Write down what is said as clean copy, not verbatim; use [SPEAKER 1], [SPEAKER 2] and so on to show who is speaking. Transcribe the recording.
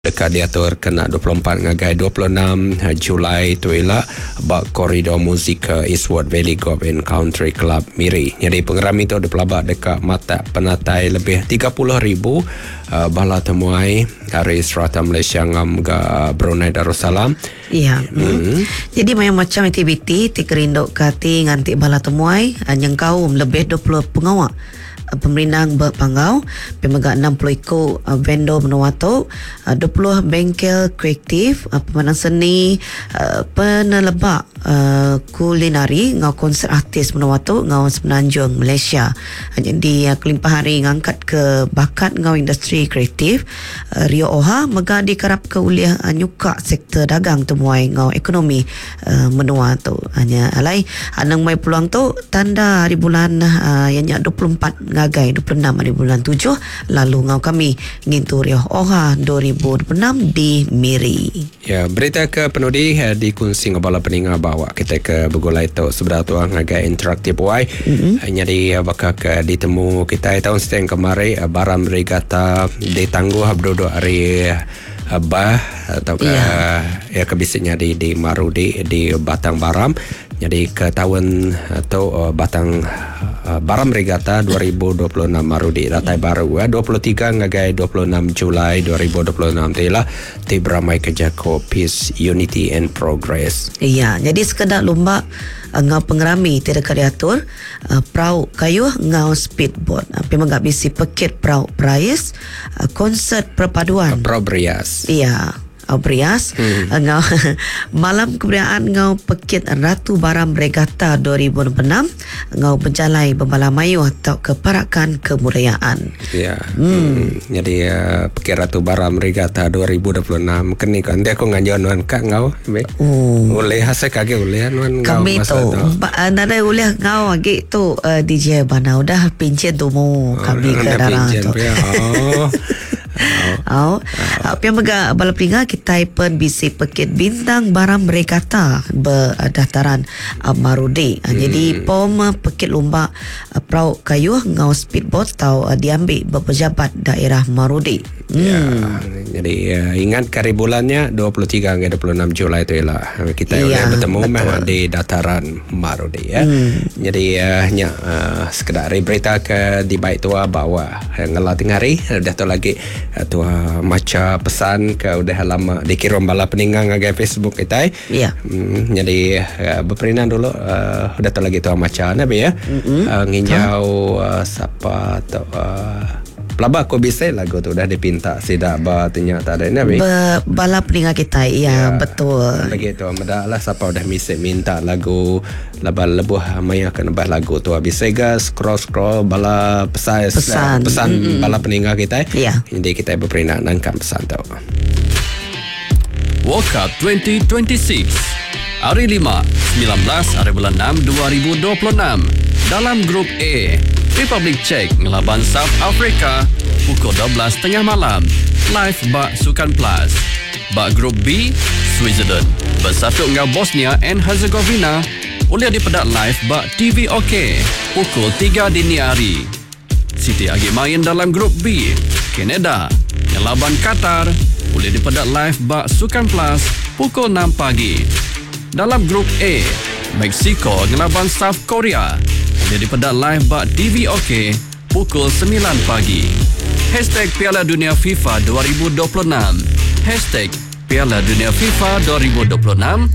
[SPEAKER 1] Deka diatur kena 24 ngagai 26 Julai tu ila ba Koridor Musika Eastwood Valley Golf and Country Club Miri. Nyadi pengerami tu dipelaba deka matak penatai lebih 30,000 bala temuai ari serata Malaysia enggau mega Brunei Darussalam.
[SPEAKER 2] Iya. Mm. Jadi mayuh macham aktiviti ti kerinduka ati nganti bala temuai nyengkaum lebih 20 pengawa Pemerindang ba Panggau, pia mega 60 iku vendor menua tu, 20 bengkel kreatif, pemandang seni, peneleba kulinari enggau konsert artis menua tu enggau Semenanjung Malaysia. Nyadi kelimpah ari ngangkatka bakat enggau industri kreatif, Rio Oha mega dikarapka ulih nyuka sektor dagang temuai enggau ekonomi menua tu. Nya alai anang mai peluang tu tanda hari bulan iya nya 24 ngagai 26 hari bulan tujuh lalu enggau kami ngintu Rioh Oha 2026 di Miri.
[SPEAKER 1] Ya, berita ke penudi dikunsi enggau bala peninga ba awak kitai ke begulai tu sebedau tu ngagai interaktif wai. Mm-hmm. Nyadi baka ke ditemu kitai taun siti kemari Baram Regatta ditangguh beduduk ari Bah tauka iya ya ke bisi nyadi di Marudi di Batang Baram. Nyadi ke taun tu Batang Baram Regatta 2026 Marudi datai baru 23 ngagai 26 Julai 2026 ti ila ti beramai ke jaku Peace, Unity and Progress.
[SPEAKER 2] Iya, nyadi sekeda lumba enggau pengerami ti deka diatur Perau kayuh enggau speedboat. Pia mega bisi pekit perau perais, konsert perpaduan.
[SPEAKER 1] Perau berias.
[SPEAKER 2] Iya, berias enggau malam keberiaan enggau pekit Ratu Baram Regatta 2026 enggau bejalai bebala mayuh tauka parakan kebudayaan.
[SPEAKER 1] Iya. Hmm. Nyadi pekit Ratu Baram Regatta 2026 keni ko enti aku nganjur nuan ka enggau. Oh. Ulih asai ke agi ulih nuan
[SPEAKER 2] enggau Kami tu nadai ulih enggau agi tu uh, DJ Bana udah pincin tumu oh, kami ke darah tu. Oh. Oh. Oh. Pia mega bala peninga kitai pen bisi pekit bintang barang regatta berdaftaran Marudi. Jadi pom pekit lumba perau kayuh enggau speedboat tau diambi ba pejabat daerah Marudi.
[SPEAKER 1] Ya. Jadi uh, ingat ke hari bulan nya 23 hingga 26 Julai tu ila kita ya, boleh bertemu meh di dataran Marudi ya. Jadi uh, nya uh, sekedar hari berita ke dibaik tua bawa ngela tengah hari udah tu lagi uh, tua maca pesan ke udah lama dikirim bala peninggang ngagai Facebook kita.
[SPEAKER 2] Ya.
[SPEAKER 1] Jadi uh, beperinan dulu uh, udah tu lagi tua maca nabi ya. Uh, nginjau uh, siapa tu uh, Pelaba aku bisi lagu tu udah dipinta sida ba ti nya tadi nya bi.
[SPEAKER 2] Ba bala peninga kitai iya ya, betul.
[SPEAKER 1] Lagi tu meda lah sapa udah misi minta lagu laban lebuh maya ke nebah lagu tu bisi ga scroll scroll bala pesan pesan, pesan mm-hmm. bala peninga kitai.
[SPEAKER 2] Ya.
[SPEAKER 1] Jadi kitai beperina nangkap pesan tu.
[SPEAKER 3] World Cup 2026 Hari Lima, 19 hari bulan 6 2026 dalam Grup A, Republik Czech ngelaban South Africa pukul 12.30 malam live ba Sukan Plus. Ba Grup B, Switzerland bersatu enggau Bosnia and Herzegovina ulih dipeda live ba TV OK pukul 3 dini hari. Siti agi main dalam Grup B, Kanada ngelaban Qatar ulih dipeda live ba Sukan Plus pukul 6 pagi. Dalam Grup A, Mexico ngelaban South Korea ulih dipeda live ba TV OK pukul 9 pagi. Hashtag Piala Dunia FIFA 2026 Hashtag Piala Dunia FIFA 2026.